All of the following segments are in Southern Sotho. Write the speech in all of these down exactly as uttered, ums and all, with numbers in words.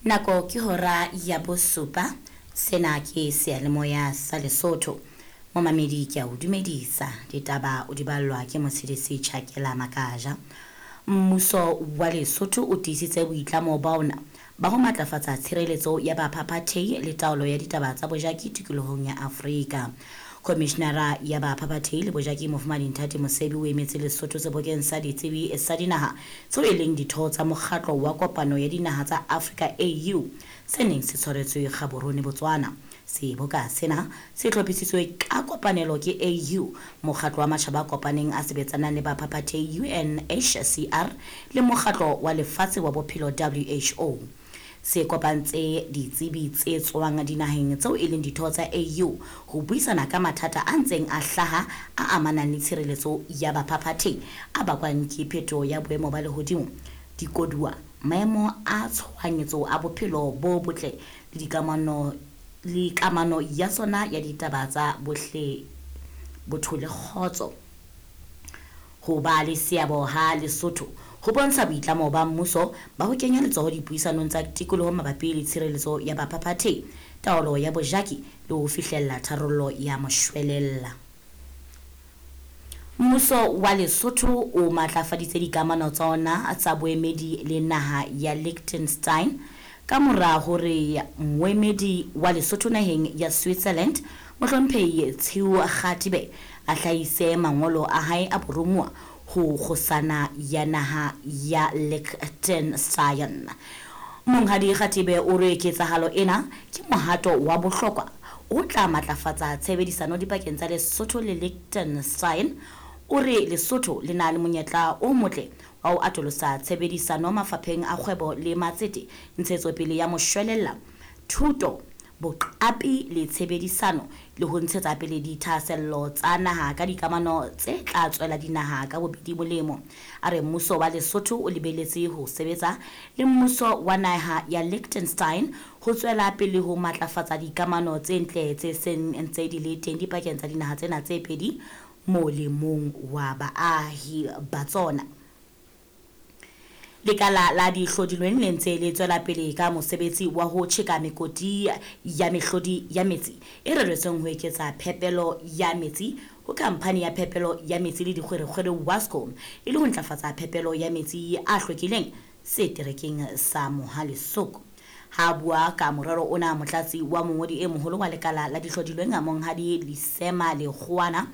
Nako ke hora ya bosupa. Sena ke seyalemoya sa Lesotho. Momamedi, ke a o dumedisa. Ditaba o di ballwa ke Motshedisi Chakela Makaja. Mmuso wa Lesotho o tiisitse boitlamo ba ona ba ho matlafatsa tshireletso ya baphaphathehi le taolo ya ditaba tsa bojaki tikolohong ya Afrika. Komishenara ya baphaphathehi le bojaki, Mofumahadi Nthati Mosebi, o emetse Lesotho sebokeng sa ditsebi sa dinaha tseo e leng ditho tsa mokgatlo wa kopano ya dinaha tsa Afrika, A U, se neng se tshwaretswe Gaborone, Botswana. Seboka sena se hlophisitswe ka kopanelo ke A U, mokgatlo wa matjhaba a kopaneng a sebetsanang le baphaphathehi, U N H C R, le mokgatlo wa lefatshe wa bophelo, W H O. Se kopantse ditsebi tse tswang dinaheng tseo e leng ditho tsa A U ho buisana ka mathata a ntseng a hlaha a amanang le tshireletso ya baphaphathehi a bakwang ke phetoho ya boemo ba lehodimo, dikoduwa, maemo a tshohanyetso a bophelo bo botle le dikamano le kamano ya tsona ya ditaba tsa bohle botho le kgotso. Ho ba le seabo ha Lesotho ho bontsha boitlamo ba mmuso ba ho kenya letsoho dipuisanong tsa tikoloho mabapi le tshireletso ya baphaphathehi, taolo ya bojaki le ho fihlella tharollo ya moshwelella. Mmuso wa Lesotho o matlafaditse dikamano tsa ona tsa boemedi le naha ya Liechtenstein ka mora hore moemedi wa Lesotho naheng ya Switzerland, Mohlomphehi Tshiu Kgatibe, a hlahise mangolo a hae a boromuwa ho kgosana ya naha ya Liechtenstein. Monghadi Kgatibe o re ketsahalo ena ke mohato wa bohlokwa o tla matlafatsa tshebedisano dipakeng tsa Lesotho le Liechtenstein. O re Lesotho le na le monyetla o motle wa ho atolosa tshebedisano mafapheng a kgwebo le matsete, ntshetsopele ya moshwelella, thuto, boqapi le tshebedisano, le ho ntshetsa pele dithahasello tsa naha ka dikamano tse tla tswela dinaha ka bobedi molemo. A re mmuso wa Lesotho o lebeletse ho sebetsa le mmuso wa naha ya Liechtenstein ho tswela pele ho matlafatsa dikamano tse ntle tse seng ntse di le teng dipakeng tsa dinaha tsena tse pedi molemong wa baahi ba tsona. Lekala la dihlodilweng le ntse le tswela pele ka mosebetsi wa ho tjheka mekoti ya mehlodi ya metsi e reretsweng ho eketsa phepelo ya metsi ho khamphani ya phepelo ya metsi le dikgwerekgwere, WASCO, e le ho ntlafatsa phepelo ya metsi a hlwekileng seterekeng sa Mohale's Hoek. Ha a bua ka morero ona, motlatsi wa mongodi e moholo wa lekala la dihlodilweng, Monghadi Lisema Lekgowana,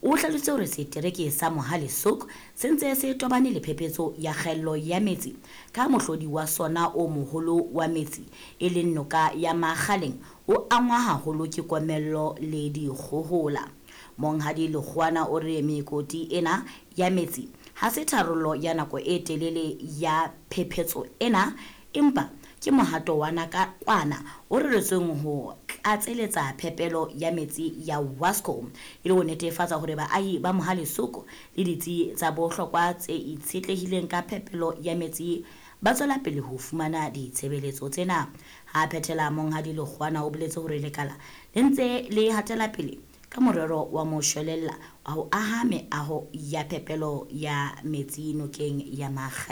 o hlalositse hore setereke sa Mohale's Hoek se ntse se tobane le phephetso ya kgaello ya metsi ka mohlodi wa sona o moholo wa metsi, e leng noka ya Makgaleng, o angwa haholo ke komello le dikgohola. Monghadi Lekgowana o re mekoti ena ya metsi ha se tharollo ya nako e telele ya phephetso ena, empa ke mohato wa nakwana o reretsweng ho tlatseletsa phepelo ya metsi ya WASCO e le ho netefatsa hore baahi ba Mohale's Hoek le ditsi tsa bohlokwa tse itshetlehileng ka phepelo ya metsi ba tswela pele ho fumana ditshebeletso tsena. Ha a phethela, Monghadi Lekgowana o boletse hore lekala le ntse le hatela pele ka morero wa moshwelella wa ho aha meaho ya phepelo ya metsi nokeng ya Makgaleng.